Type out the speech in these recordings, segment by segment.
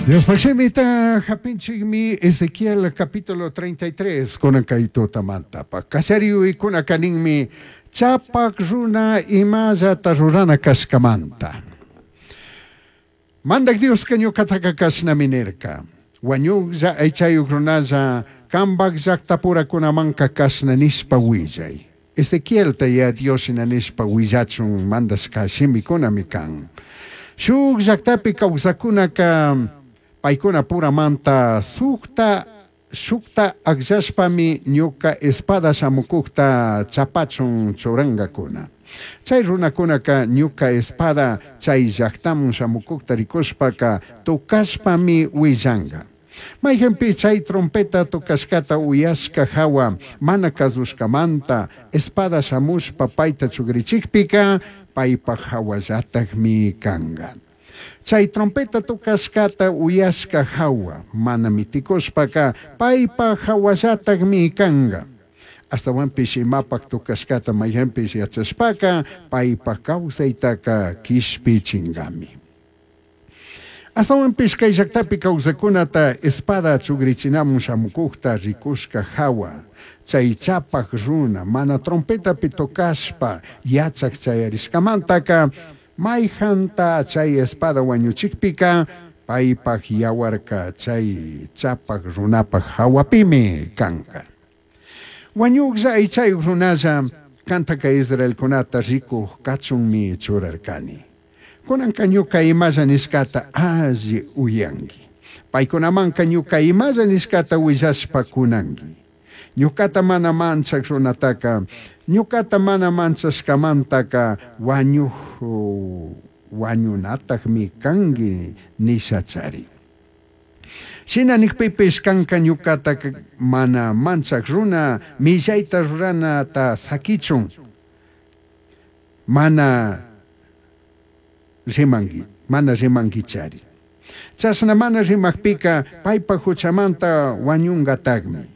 Diospaj shimita japinchikmi Ezequiel capítulo 33 kunan kay tutamantapak kallariyuykunaka ninmi chapak runa imallata rurana kashkamanta. Mandak Dioska ñukataka kashnami nirka. Wañuklla aychayuk runalla kambak llaqtapurakunamanka kashna nishpa willay. Ezequielta ya Dios shina nishpa willachun mandashka shimikunami kan. Shuk llaqtapi kawsakunaka paykuna puramanta sukta shukta akllashpami ñuka espada shamukukta chapachun churankakuna. Chay runakunaka ñuka espada chay llaqtaman shamukukta rikushpaka tukashpami willanka. Mayqinpi chay trompeta tukashkata uyashka hawa mana kasushkamanta espada shamushpa payta chugrichikpika paypaj hawallatakmi kanka. Chay trompeta tukashkata uyashka hawa mana mitikushpaka paypaj hawallatakmi kanka. Astawanpish imapak tukashkata mayqinpish yachashpaka paypaj kawsaytaka kishpichinkami. Astawanpish kay llaqtapi kawsakunata espada chugrichinamun shamukukta rikushka hawa chay chapak runa mana trompetapi tocashpa yachak chayarishkamantaka mayjanta chay espada wañuchikpika paypaj yawarka chay chapak runapaj hawapimi kanka. Wañuklla aychayuk runalla kantaka israelkunata rikuq kachunmi churarkani. Kunanka ñuka imalla nishkata alli uyanki. Paykunamanka ñuka imalla nishkata willashpa kunanki. Ñukata mana manchak runataka, ñukata mana manchashkamantaka wañuj wañunatakmi kanki nishachari. Shina nikpipish kanka ñukata mana manchak runa millayta ruranata sakichun mana rimanki, mana rimankichari. Chashna mana rimakpika paypaj huchamanta wañunkatakmi.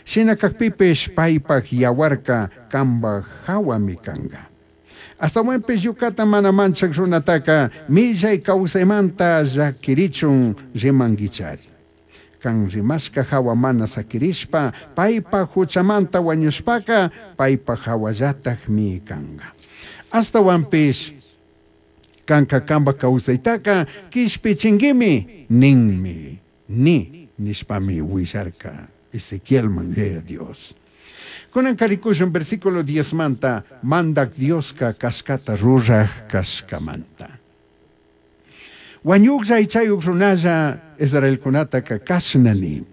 Shina kakpipish paypaj yawarka kambaj hawami kanka. Astawanpish ñukata mana manchak runataka millay kawsaymanta llakirichun rimankichari. Kan rimashka hawa mana sakirishpa paypaj huchamanta wañushpaka paypaj hawallatakmi kanka. Astawanpish kanka kamba kawsaytaka kishpichinkimi ninmi ni nishpami willarka Ezequielman Yaya Dios. Kunanka rikushun versículo 10 manta mandak Dioska kashkata ruraj kashkamanta. Wañuklla aychayuk runalla israelkunataka kashna ni.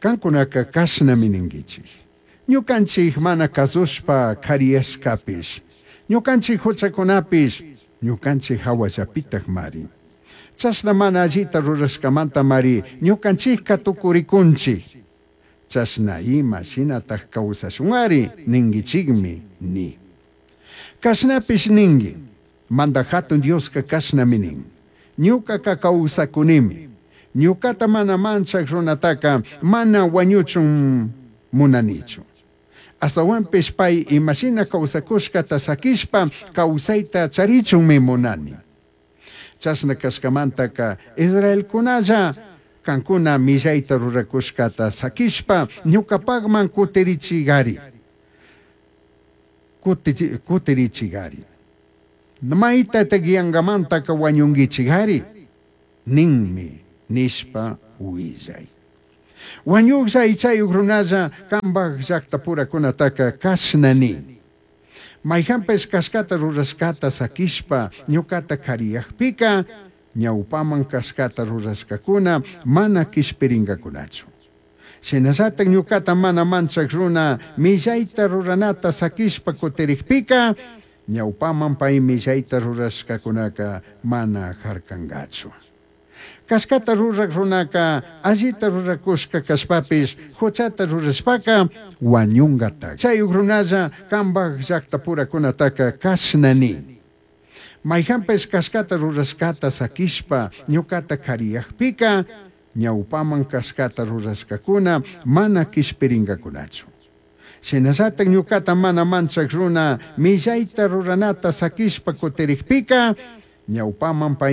Kankunaka kashnami ninkichik. Ñukanchik mana kasushpa kariyashkapish. Ñukanchik huchakunapish ñukanchik hawallapitak mari. Chashna mana allita rurashkamanta mari ñukanchikka tukurikunchik. Chashna ima shinatak kawsashunari ninkichikmi ni. Kashnapish ninki, mandak hatun Dioska kashnami nin. Ñukaka kawsakunimi. Ñukata mana manchak runataka mana wañuchun munanichu. Astawanpish pay imashina kawsakushkata sakishpa kawsayta charichunmi munani. Chashna kashkamantaka israelkunalla kankuna millayta rurakushkata sakishpa ñukapakman kutirichigari. Kutirichigari. Maytatak yankamantaka wañunkichigari ninmi nishpa willay. Wañuklla aychayuk runalla kambaj llaqtapurakunataka kashna ni. Mayqanpish kashkata rurashkata sakishpa ñukata kariyakpika ñawpaman kashkata rurashkakuna mana kishpirinkakunachu. Shinallatak ñukata mana manchak runa millayta ruranata sakishpa kutirikpika ñawpaman pay millayta rurashkakunaka mana harkankachu. Kashkata rurak runaka allita rurakushka kashpapish huchata rurashpaka wañunkatak. Chayuk runalla kambaj llaqtapurakunataka kashna ni. Mayqanpish kashkata rurashkata sakishpa ñukata kariyakpika ñawpaman kashkata rurashkakuna mana kishpirinkakunachu. Shinallatak ñukata mana manchak runa millayta ruranata sakishpa kutirikpika ñawpaman pay